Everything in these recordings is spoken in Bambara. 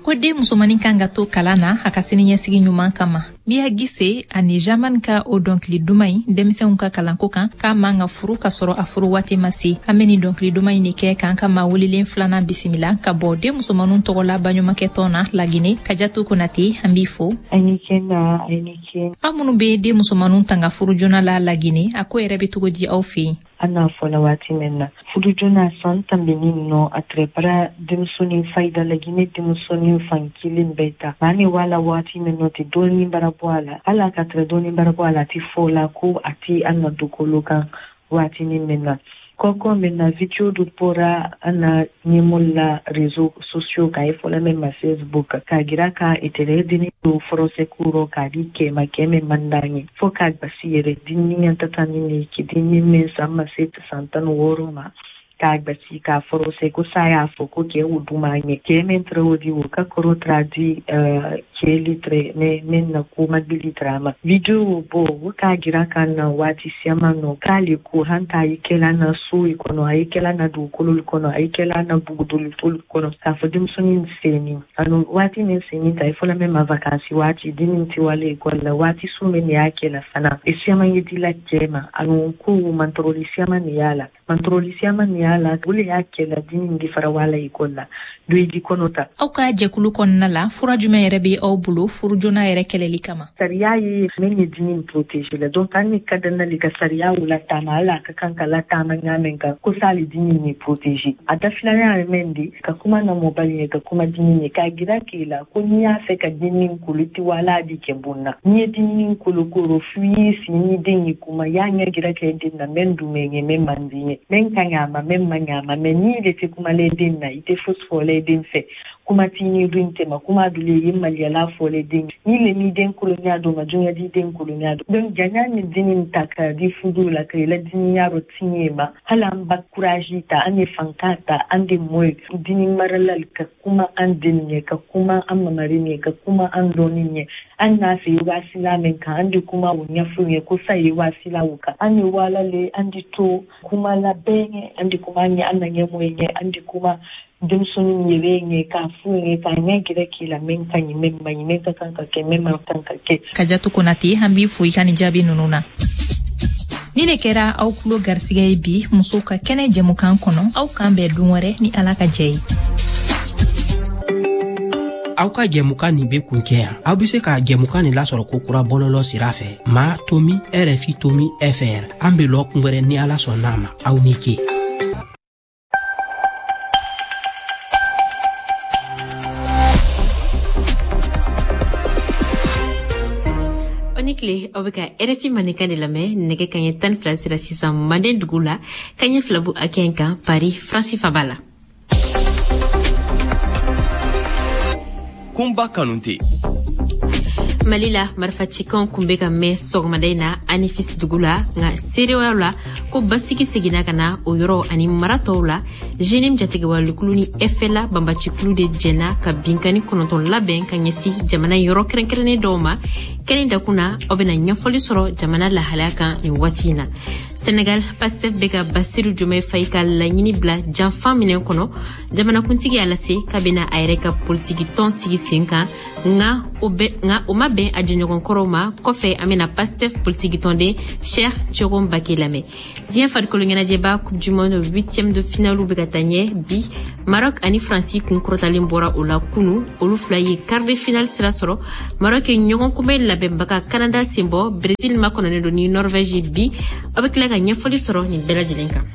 Ko den musomannin kan ka to kalan na a ka siniɲɛsigi ɲuman kama. Miya Gise ani Jaman ka o dɔnkili duman in denmisɛnw ka kalanko kan, k'a man ka furu ka sɔrɔ a furu waati ma se. An bɛ nin dɔnkili duman in de kɛ k'an ka maa welelen filanan bisimila ka bɔ den musomanninw tɔgɔ la baɲumankɛtɔn na Lagine. Kajatu Konate, an b'i fo. Aw ni ce na, aw ni ce. Aw minnu bɛ den musomanninw tanga furu joona la Lagine, a ko yɛrɛ bɛ cogo di aw fɛ yen? An n'a fɔla waati min na furu joona san tanbinin nɔ a tɛrɛ bara denmusonin fayida lagine denmusonin fan kelen bɛɛ ta maa ni wala waati min nɔ tɛ dɔɔnin bara bɔ a la hali a ka tɛrɛ dɔɔnin bara bɔ a la a tɛ fɔ la ko a tɛ an na dukolo kan waatinin min na kɔkɔ min na video dɔ bɔra an na ɲɛmɔgɔ la réseaux sociaux kan i fɔla min ma Facebook k'a jira ka i tɛrɛ denni don forcé ko rɔ k'a di kɛ ma kɛ min man d'an ye fo k'a gbasi yɛrɛ denni ɲɛ tatani ni ki denni min san ma se san 16 ma k'a gbasi k'a forcé ko sa y'a fɔ ko kɛ o duma ɲɛ kɛ min tɛrɛ o di o ka kɔrɔ tɛrɛ di kɛli tɛrɛ min na ko magbili tɛrɛ a ma video bɔ o k'a jira ka na waati siyaman nɔ k'ale ko hanta a ye kɛla na so i kɔnɔ a ye kɛla na dugukolo kɔnɔ a ye kɛla na bugudolitolu kɔnɔ k'a fɔ denmisɛnnin senni ani waati min senni ta i fɔla min ma vakansi waati dennin tɛ wale ekɔli la waati su min y'a kɛla fana e siyaman ye dila cɛ ma ani ko mantɔrɔli siyaman de y'a la mantɔrɔli siyaman de y'a la o le y'a kɛla dennin di fara wala ekɔli la do i di kɔnɔ ta. Aw ka jɛkulu kɔnɔna la fura jumɛn yɛrɛ bɛ aw bolo furu joona yɛrɛ kɛlɛli kama? Sariya ye min ye dennin protéger la donc an ni ka danna le ka sariya o lataama hali a ka kan ka lataama ɲa min kan ko sa le dennin ye protéger a dafilanya ye min di ka kuma na mɔbali ye ka kuma dennin ye k'a jira k'i la ko n'i y'a fɛ ka dennin kolo i tɛ wala di kɛ bon na n'i ye dennin kolo koro f'i y'i sigi ni den ye kuma y'a ɲɛ jira kɛ den na mɛn dun ye mɛn man di ye mɛn ka ɲa a ma mɛn man ɲa a ma mɛ n'i de tɛ kumalen den na i tɛ fosi fɔlen den fɛ kuma t'i ni dun tɛ ma kuma dun ye maliyala fɔlen den ni le m'i den kolonya dɔn ma jonya di den kolonya dɔn donc janya ni dennin ta ka di fudu la ka i la diniya rɔ tiɲɛ ma hali an ba courage ta an ye fanka ta an de mɔ ye dini marala ka kuma an den ɲɛ ka kuma an mamari ɲɛ ka kuma an dɔɔni ɲɛ an n'a fɛ waasila min kan an de kuma o ɲɛfɔ ɲɛ ko sa ye waasila o kan an ye waala le an de to kuma la bɛɛ ɲɛ an de kuma ɲɛ an na ɲɛmɔgɔ ɲɛ an de kuma denmisɛnnin yɛrɛ ɲɛ k'a f'u ɲɛ k'a ɲɛ gɛrɛ k'i la min ka ɲi min man ɲi min ka kan ka kɛ min man kan ka kɛ. Kajatu Konate, an b'i fo i ka nin jaabi ninnu na. Ni ne kɛra aw tulo garisigɛ ye bi musow ka kɛnɛ jɛmukan kɔnɔ, aw k'an bɛn don wɛrɛ ni Ala ka jɛ ye. Aw ka jɛmukan nin be kuncɛ yan. Aw be se ka jɛmukan nin lasɔrɔ ko kura bɔlɔlɔ sira fɛ ma tomi rfi tomi fr. An be lɔ kun wɛrɛ ni Ala sɔnna a ma. Aw ni ce. Tile aw bɛ ka RFI mandenkan de lamɛn nɛgɛ kaɲɛ 12 sera sisan manden dugu la kaɲɛ fila bu hakɛ in kan Paris Faransi faba la. Kunba Kanute. Mali la marifacikanw kun bɛ ka mɛn sɔgɔmada in na Anifis dugu la nka seereyaw la ko basigi seginna ka na o yɔrɔ ani mara tɔw la JNIM jatigɛwalekulu ni FLA banbacikulu de jɛnna ka binkani 9 labɛn ka ɲɛsin jamana yɔrɔ kɛrɛnkɛrɛnnen dɔw ma kɛnɛ dakun na aw bɛna ɲɛfɔli sɔrɔ jamana lahalaya kan nin waati in na. Senegal Pastef bɛ ka Basiru Diomaye Faye ka laɲini bila janfa minɛn kɔnɔ jamanakuntigi y'a lase k'a bɛna a yɛrɛ ka politiki tɔn sigi sen kan nka o ma bɛn a jɛɲɔgɔn kɔrɔw ma kɔfɛ an bɛna Pastef politiki tɔnden Cheikh Thioro Mbacké lamɛn. Diɲɛ farikolo ɲɛnajɛba Coupe du Monde 8e de finale bɛ ka taa ɲɛ bi Maroc ani Faransi kun kɔrɔtalen bɔra o la kunu olu fila ye quart de finale sira sɔrɔ Maroc ye ɲɔgɔn kunbɛn labɛnbaga Canada senbɔ Brésil makɔnɔnen don ni Norvège bi aw bɛ tila ka ɲɛfɔli sɔrɔ nin bɛɛ lajɛlen kan.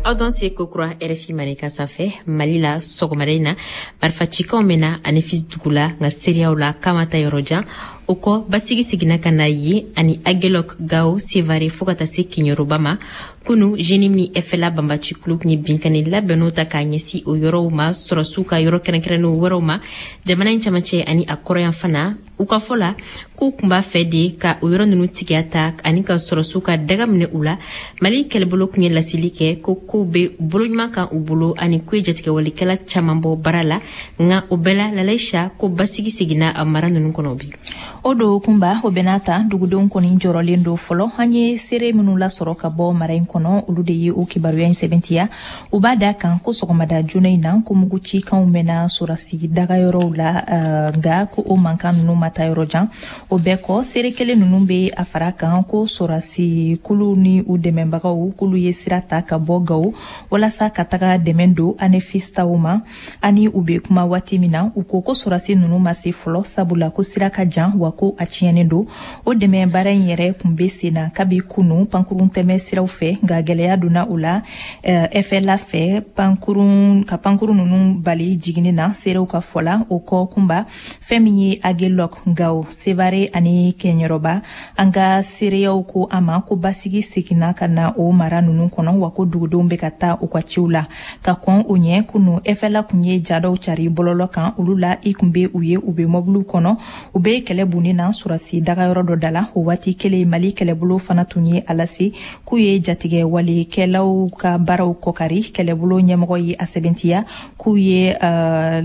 Aw dan se kokura RFI mandenkan sanfɛ Mali la sɔgɔmada in na marifacikanw mɛnna Anifis dugu la nka seereyaw la k'a ma taa yɔrɔ jan o kɔ basigi seginna ka na yen ani Aguelhok Gao Sevare fo ka taa se Kiɲɛrɔba ma kunu JNIM ni FLA banbacikulu tun ye binkani labɛnniw ta k'a ɲɛsin o yɔrɔw ma sɔrɔsiw ka yɔrɔ kɛrɛnkɛrɛnnenw wɛrɛw ma jamana in camancɛ ani a kɔrɔyanfan na u ka fɔ la k'u tun b'a fɛ de ka o yɔrɔ ninnu tigiya ta ani ka sɔrɔsiw ka daga minɛ u la Mali kɛlɛbolo tun ye laseli kɛ ko kow bɛ bolo ɲuman kan u bolo ani k'u ye jatigɛwalikɛla caman bɔ baara la nka o bɛɛ la Lalaïcha ko basigi seginna a mara ninnu kɔnɔ bi. O don Kunba, o bɛna ta dugudenw kɔni jɔrɔlen don fɔlɔ. An ye seere minnu lasɔrɔ ka bɔ mara in kɔnɔ, olu de ye o kibaruya in sɛbɛntiya. U b'a da kan ko sɔgɔmada joona in na, ko mugu cikanw mɛnna sɔrɔsi dagayɔrɔw la, nka ko o mankan ninnu ma taa yɔrɔ jan. O bɛɛ kɔ, seere kelen ninnu bɛ a fara kan ko sɔrɔsi kulu ni u dɛmɛbagaw, k'olu ye sira ta ka bɔ Gawo walasa ka taga dɛmɛ don Anefis taw ma. Ani u bɛ kuma waati min na, u ko ko sɔrɔsi ninnu ma se fɔlɔ, sabula ko sira ka jan, wa ko a tiɲɛnen don. O dɛmɛ baara in yɛrɛ kun bɛ sen na kabi kunu pankurun tɛmɛ siraw fɛ, nka gɛlɛya donna o la FLA fɛ pankurun ka pankurun ninnu bali jiginni na, seerew ka fɔ la. O kɔ Kunba, fɛn min ye Agelok, Gawo, Sevare ani Kɛɲɛrɔba, an ka seereyaw ko a ma ko basigi seginna ka na o mara ninnu kɔnɔ, wa ko dugudenw bɛ ka taa u ka ciw la. Ka kɔn o ɲɛ, kunu FLA kun ye ja dɔw cari bɔlɔlɔ kan. Olu la, i kun bɛ u ye, u bɛ mɔbiliw kɔnɔ, u bɛ kɛlɛ bunni na sɔrɔsi dagayɔrɔ dɔ da la. O waati kelen, Mali kɛlɛbolo fana tun ye a lase k'u ye jatigɛ walekɛlaw ka baaraw kɔkari. Kɛlɛbolo ɲɛmɔgɔ ye a sɛbɛntiya k'u ye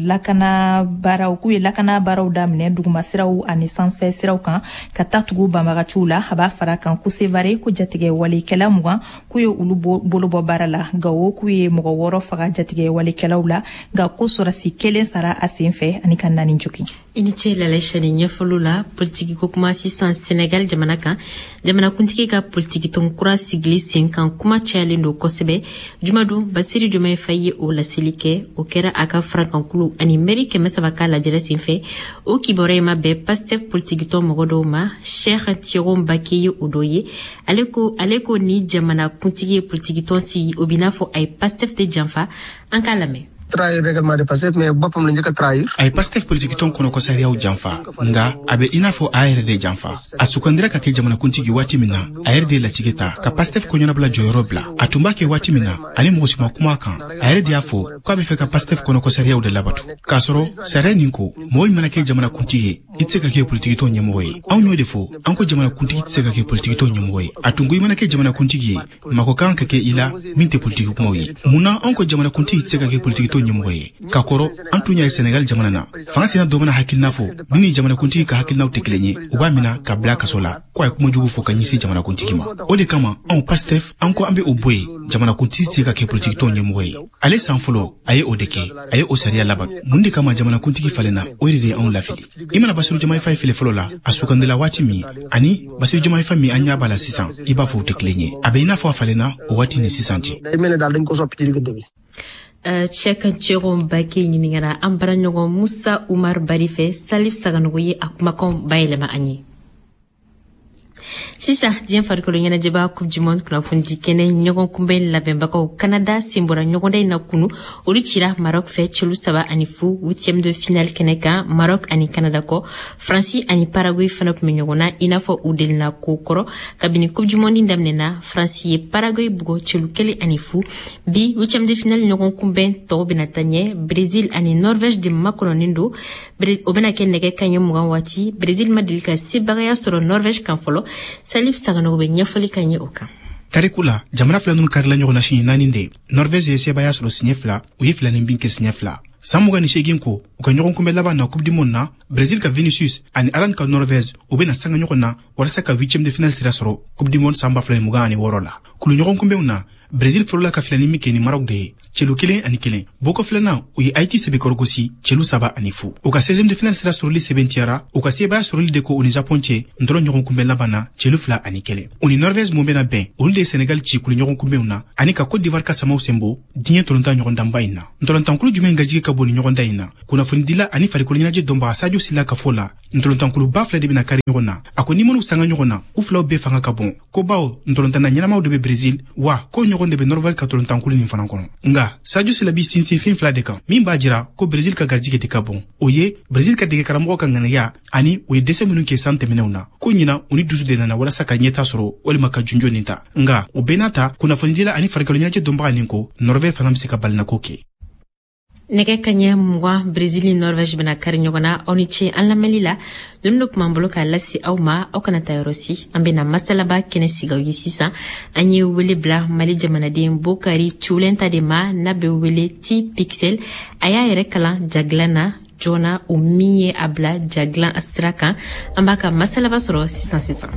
lakana baaraw k'u ye lakana baaraw daminɛ dugumasiraw ani sanfɛ siraw kan ka taa tugu banbagaciw la. A b'a fara kan ko Sevare, ko jatigɛ walekɛla 20, k'u ye olu bolo bɔ baara la. Gawo, k'u ye mɔgɔ 6 faga jatigɛ walekɛlaw la, nka ko sɔrɔsi 1 sara a sen fɛ ani ka 4 jogin. I ni ce Lalaïcha ni ɲɛfɔliw la. Politiki ko kuma sisan, Senegal jamana kan, jamanakuntigi ka politikitɔn kura sigili sen kan kuma cayalen don kosɛbɛ. Jumadon, Bassirou Diomaye Faye ye o laseli kɛ. O kɛra a ka farankankulu ani mɛri 300 ka lajɛrɛ senfɛ. O kibaruya in ma bɛn Pastef politikitɔn mɔgɔ dɔw ma. Cheikh Thioro Mbacké ye o dɔ ye. Ale ko ni jamanakuntigi ye politikitɔn sigi, o b'i n'a fɔ a ye Pastef de janfa. An k'a lamɛn. Trahir règlement de Pastef, mais boppam la njëkk a trahir. A ye Pastef politikitɔn kɔnɔko sariyaw janfa, nka a bɛ i n'a fɔ a yɛrɛ de janfa. A sugandira ka kɛ jamanakuntigi waati min na, a yɛrɛ de ye latigɛ ta ka Pastef kɔɲɔnabila jɔyɔrɔ bila. A tun b'a kɛ waati min na, ani mɔgɔ si ma kuma a kan, a yɛrɛ de y'a fɔ k'a bɛ fɛ ka Pastef kɔnɔko sariyaw de labatu, k'a sɔrɔ sariya nin ko mɔgɔ min mana kɛ jamanakuntigi ye, i tɛ se ka kɛ politikitɔn ɲɛmɔgɔ ye. Anw y'o de fɔ, an ko jamanakuntigi tɛ se ka kɛ politikitɔn ɲɛmɔgɔ ye. A tun ko i mana kɛ jamanakuntigi ye, mako kan ka kɛ i la min tɛ politiki kumaw ye. Mun na anw ko jamanakuntigi tɛ se ka kɛ politikitɔn ɲɛmɔgɔ ye? Ka kɔrɔ, an tun y'a ye Senegal jamana na, fanga sina dɔ mana hakilina fɔ min ni jamanakuntigi ka hakilinaw tɛ kelen ye, u b'a mina ka bila kaso la ko a ye kuma jugu fɔ ka ɲɛsin jamanakuntigi ma. O de kama anw Pastef, an ko an bɛ o bɔ yen, jamanakuntigi tɛ se ka kɛ politikitɔn ɲɛmɔgɔ ye. Ale san fɔlɔ, a ye o de kɛ, a ye o sariya laban. Mun de kama jamanakuntigi falenna? O de ye anw lafili. I mana Bassirou Diomaye Faye filɛ fɔlɔ la, a sugandila waati min, ani Bassirou Diomaye Faye min an ɲɛ b'a la sisan, i b'a fɔ u tɛ kelen ye. A bɛ i n'a fɔ a falenna o waati ni sisan cɛ. Day mel ne daal dañ ko soppi ci diggante bi. Cheikh Thioro Mbacké ɲininkara an baaraɲɔgɔn Musa Umar Bari fɛ. Salif Saganogo ye a kumakanw bayɛlɛma an ye. Sisan, diɲɛ farikolo ɲɛnajɛba Coupe du monde kunnafonidi kɛnɛ ɲɔgɔn kunbɛn labɛnbagaw Canada sen bɔra ɲɔgɔnda in na kunu. Olu cira Maroc fɛ celu 3-0 huitième de finale kɛnɛ kan. Maroc ani Canada kɔ, Faransi ani Paraguay fana tun bɛ ɲɔgɔn na. I n'a fɔ u delina ko kɔrɔ kabini Coupe du monde daminɛna, Faransi ye Paraguay bugɔ celu 1-0. Bi huitième de finale ɲɔgɔn kunbɛn tɔw bɛna taa ɲɛ. Brésil ani Norvège de makɔnɔnin don. O bɛna kɛ nɛgɛ kaɲɛ 20 waati. Brésil ma deli ka sebagaya sɔrɔ Norvège kan fɔlɔ. Salif Saganogo bɛ ɲɛfɔli ka ɲɛ o kan. Tariku la, jamana fila ninnu karila ɲɔgɔn na siɲɛ naani de. Norvège ye sebaaya sɔrɔ siɲɛ fila, u ye filanin bin kɛ siɲɛ fila. San 28 ko, u ka ɲɔgɔn kunbɛ laban na Coupe du monde na, Brésil ka Vinicius ani Haaland ka Norvège, u bɛna sanga ɲɔgɔn na walasa ka huitième de finale sira sɔrɔ Coupe du monde san 2026 la. Kulu ɲɔgɔn kunbɛnw na, Brésil fɔlɔla ka filanin min kɛ ni Maroc de ye, celu 1-1. Bɔko filanan, u ye Haïti sɛbɛkɔrɔ gosi celu 3-0. U ka 16e de finale sira sɔrɔli sɛbɛntiyara u ka sebaaya sɔrɔli de ko u ni Japon cɛ ntɔlɔ ɲɔgɔn kunbɛn laban na, celu 2-1. U ni Norvège mun bɛna bɛn, olu de ye Sénégal ci kulu ɲɔgɔn kunbɛnw na ani ka Côte d'Ivoire ka samaw senbɔ diɲɛ tolontan ɲɔgɔndanba in na. Ntɔlɔntankulu jumɛn gajigi ka bon ni ɲɔgɔndan in na? Kunnafonidila ani farikolo ɲɛnajɛ dɔnbaga Sadio Sila ka fɔ la, ntɔlɔntankuluba fila de bɛna kari ɲɔgɔn na. A ko ni minnu sanga ɲɔgɔn na, u filaw bɛɛ fanga ka bon, ko bawo ntɔlɔntanna ɲɛnamaw de bɛ Brésil, wa ko ɲɔgɔn de bɛ Norvège ka tolontankulu nin fana kɔnɔ. Nka Sadio Sila b'i sinsin fɛn fila de kan min b'a jira ko Brésil ka garijigɛ de ka bon. O ye Brésil ka dege karamɔgɔ ka ŋaniya ani u ye dɛsɛ minnu kɛ san tɛmɛnenw na, ko ɲina u ni dusu de nana walasa ka ɲɛta sɔrɔ walima ka junjo nin ta. Nka o bɛɛ n'a ta, kunnafonidila ani farikolo ɲɛnajɛ dɔnbaga nin ko Norvège fana bɛ se ka balinako kɛ. Nɛgɛ kaɲɛ 20, Brésil ni Norvège bɛna kari ɲɔgɔn na. Aw ni ce an lamɛnli la. Ninnu de tun b'an bolo k'a lase aw ma. Aw kana taa yɔrɔ si, an bɛna masalaba kɛnɛ sigi aw ye sisan. An ye wele bila Mali jamanaden Bokari Culɛnta de ma, n'a bɛ wele Ti Pixel. A y'a yɛrɛ kalan jagilan na. joona, o min ye a bila ja dilan sira kan. An b'a ka masalaba sɔrɔ sisan sisan.